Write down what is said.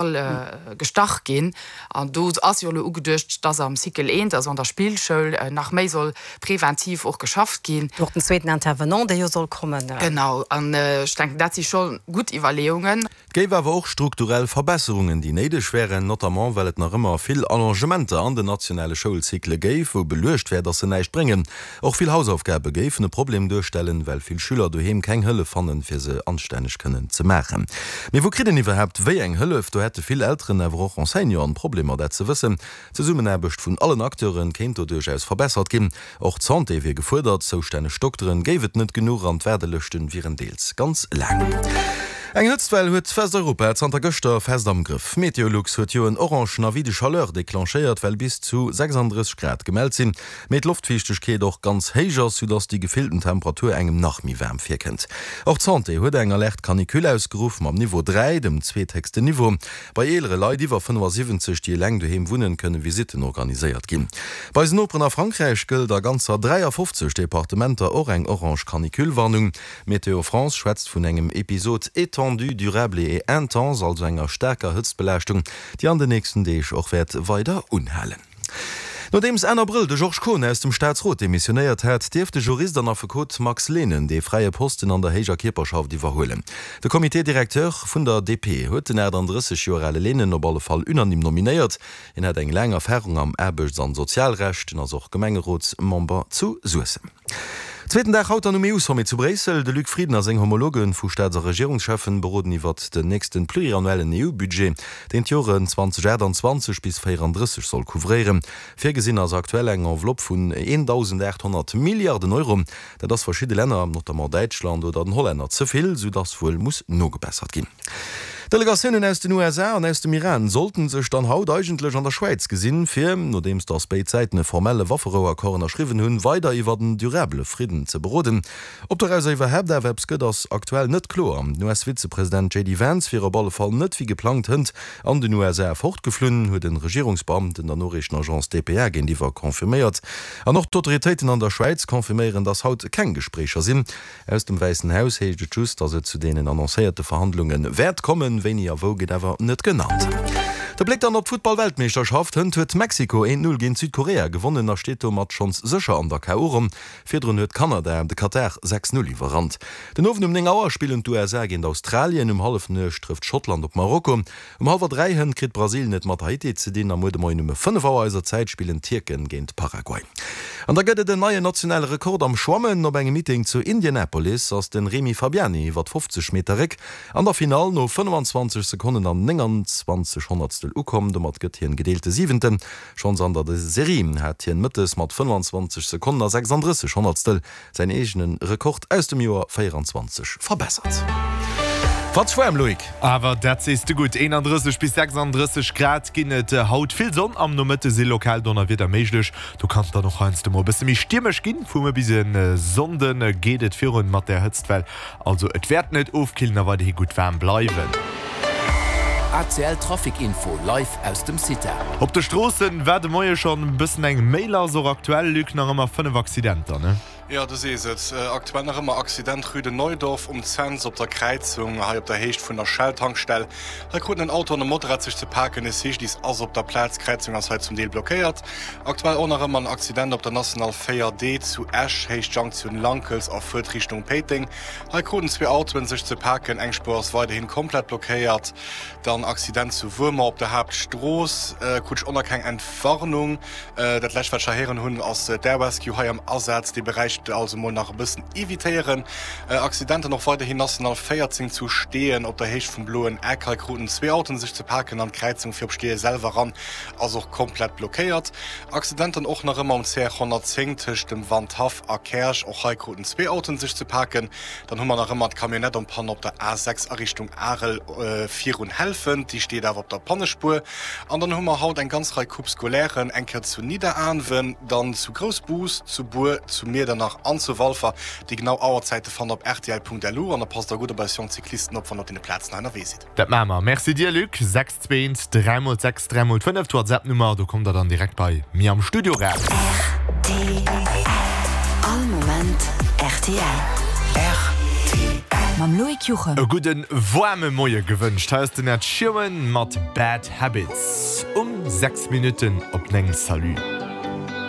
Gestach ginn. An do ass jo elo ugeduecht, dass am Cycle eent, also an der Spillschoul, nach méi soll preventiv och geschafft ginn. Och den zweeten Intervenant, dee jo soll kommen. Genau. An ech denken, dat si scho gutt Iwwerleeungen. Et géif awer och strukturell Verbesserungen, déi néideg wären, notamment well et nach ëmmer vill Allongementer an den nationale Schoulcyclë géif, wou beluecht wär, datt se näischt bréngen. Och vill Hausaufgabe géifen e Problem duerstellen, well vill Schüler doheem keng Hëllef fannen, fir se anstänneg kënnen ze maachen. Mee wou kritt een iwwerhaapt wéi eng Hëllef? Do hätte vill Elteren, awer och Enseignanten Problemer, dat ze wëssen. D'Zesummenaarbecht vun allen Acteure kéint do duerchaus verbessert ginn. Och d'Santé wier gefuerdert, zoustänneg Dokteren géif et net genuch an d'Waardelëschten wieren deels ganz laang. Eng Hëtztwell huet Westeuropa zanter gëschter fest am Grëff. Meteolux huet jo en orangen Avis de chaleur declenchéiert, well bis zu 36 Grad gemellt sinn. Mee d'Loftfiichtegkeet och ganz héich ass, soudass déi gefillten Temperatur engem nach méi waarm virkënnt. Och d'Santé huet eng Alerte Canicule ausgeruff, mam Niveau 3, dem zweethéchsten Niveau. Bei eelere Leit iwwer 75, déi eleng doheem wunnen, kënne Visitten organiséiert ginn. Bei eisen Noperen a Frankräich gëllt a ganzer 53 Departementer och eng orange Canicule-Warnung. Météo France schwätzt vun engem Episode étendu, durable et intense, also enger staarker Hëtztbelaaschtung, déi an den nächsten Deeg och wäert weider unhalen. Nodeems Enn Abrëll de Georges Kohn aus dem Staatsrot demissionéiert hat, dierf de Jurist an Affekot Max Lehnen dee fräie Posten an der héijer Kierperschaft iwwerhuelen. De Comité directeur vun der DP huet den 38 Joer ale Lehnen op alle Fall unanime nominéiert. Hien hätt eng laang Erfarung am Aarbechts an Sozialrecht, en ass och Gemengerotsmember zu Suessem. Zweeten Dag haut dann um EU-Sommet zu Bréissel. De Luc Frieden a seng Homologe vu Staats a Regierungscheffen beroden iwwert den nächste pluriannuellen EU-Budget, deen d'Joren 2028 bis 34 soll couvréieren. Virgesinn ass aktuell eng Enveloppe vun 1.800 Milliarden Euro. Dat ass verschidde Länner, notamment Däitschland oder den Hollänner, ze vill, soudass wuel muss nogebessert ginn. Delegatiounen aus den USA an aus dem Iran sollten sech dann haut eigentlech an der Schwäiz gesinn, fir, nodeems datt béid Säiten e formelle Wafferouaccord ënnerschriwwen hunn, weider iwwer en durabele Fridden ze beroden. Ob dorauser iwwerhaapt awer eppes gëtt, ass aktuell net kloer. Den US-Vizepresident JD Vance wier op alle Fall net wéi geplangt hënt an den USA fortgeflunn, huet e Regierungsbeamten der Noriichtenagence dpa géintiwwer confirméiert. An och d'Autoritéiten an der Schwäiz confirméieren, datt haut keng Gespréicher sinn. Aus dem Wäissen Haus heescht et just, datt et zu deenen annoncéierte Verhandlunge wäert kommen. Wéini a wou gëtt awer net genannt. De Bléck dann op d'Futtball-Weltmeeschterschaft, Hënt huet Mexiko 1, 0 géint Südkorea gewonnen a steet domat schonns sécher an der KO-Ronn. Virdrun huet Kanada de Katar 6, 0 iwwerrannt. Den Owend um 9 Auer spillen d'USA géint Australien, um Hallefnuecht trëfft Schottland op Marokko. Um hallwer 3 hënt kritt Brasilien et mat Haiti ze dinn a muer de Moien um 5 Auer eiser Zäit spillen d'Tierken géint Paraguay. An da gëtt et en neien nationale Rekord am Schwammen. Op engem Meeting zu Indianapolis ass de Rémi Fabiani iwwer 50 Meter Réck an der Finall no 25 Sekonnen an 29 Honnertstel ukomm. Domat gëtt hien gedeelte Siwenten. Schonns an der Serie hat hien mëttes mat 25 Sekonnen a 36 Honnertstel Säin eegene Rekord aus dem Joer 24 verbessert. Fatz waarm, Loïc! Awer dat sees de gutt, 31 bis 36 Grad ginn et haut. Vill Sonn, am Nomëtte si lokal Donnerwieder méiglech. Do kann et dann och heiansdo mol e bësse méi stiermesch ginn. Vu muer bis e Sonnde geet et virun mat der Hëtztwell. Also et wäert net ofkillen a weiderhi gutt waarm bleiwen. ACL Trafic Info live aus dem CITA. Op de Stroossen war de Moie schonn bëssen eng méi lass, och aktuell, Luc, nach ëmmer 5 Accidenter, ne? Jo, du sees et, aktuell nach ëmmer Accident Rue de Neudorf um Cents op der Kräizung, hei op der Héicht vun der Shell-Tankstell. Hei kruten en Auto an e Motorrad sech ze paken, e CGDIS ass op der Plaz, d'Kräizung ass hei zum Deel blockéiert. Aktuell och nach ëmmer en Accident op der National 4D zu Esch, Héicht Junction Lankels a Fuertrichtung Péiteng. Hei kruten zwee Autoen sech ze paken, eng Spuer ass weiderhin komplett blockéiert. Dann Accident zu Wuermer op der Haaptstrooss, krut ech och nach keng Entwarnung. Dat lescht wat ech hei héieren hunn ass d'Air Rescue hei am Asaz, dee Beräich also mol nach e bëssen evitéieren. Accident dann och weiderhin National 14 zu Steeën op der Héicht vum Bloen Eck, hei kruten zwee Autoen sech ze paken an d'Kräizung fir op Steeë selwer ran ass och komplett blockéiert. Accident dann och nach ëmmer um CR 110 tëscht dem Wandhaff a Käerch. Och hei kruten zwee Autoen sech ze paken. Dann hu mer nach ëmmer d'Camionnette en panne op der A6 a Richtung Arel virun Helfent. Déi steet awer op der Pannespuer. An dann hu mer haut eng ganz Rei Coupes scolairen, eng Kéier zu Nidderaanwen, dann zu Groussbus, zu Bur, zu Miedernach an zu Walfer. Déi genau Auerzäite fannt der op rtl.lu. An da passt der gutt op eis jonk Cyclisten op, wann der op deene Plazen hei ënnerwee sidd. Dat maache mer. Merci dir, Luc. 6 2 3 mol 6 3 mol 5, d'WhatsApp-Nummer, do kommt der dann direkt bei mir am Studio raus. Rtl. All Moment rtl. Rtl. Mam Loïc Juchem. E gudden waarme Moie gewënscht. Hei ass den Ed Sheeran mat Bad Habits um 6 Minutten op 9. Salut.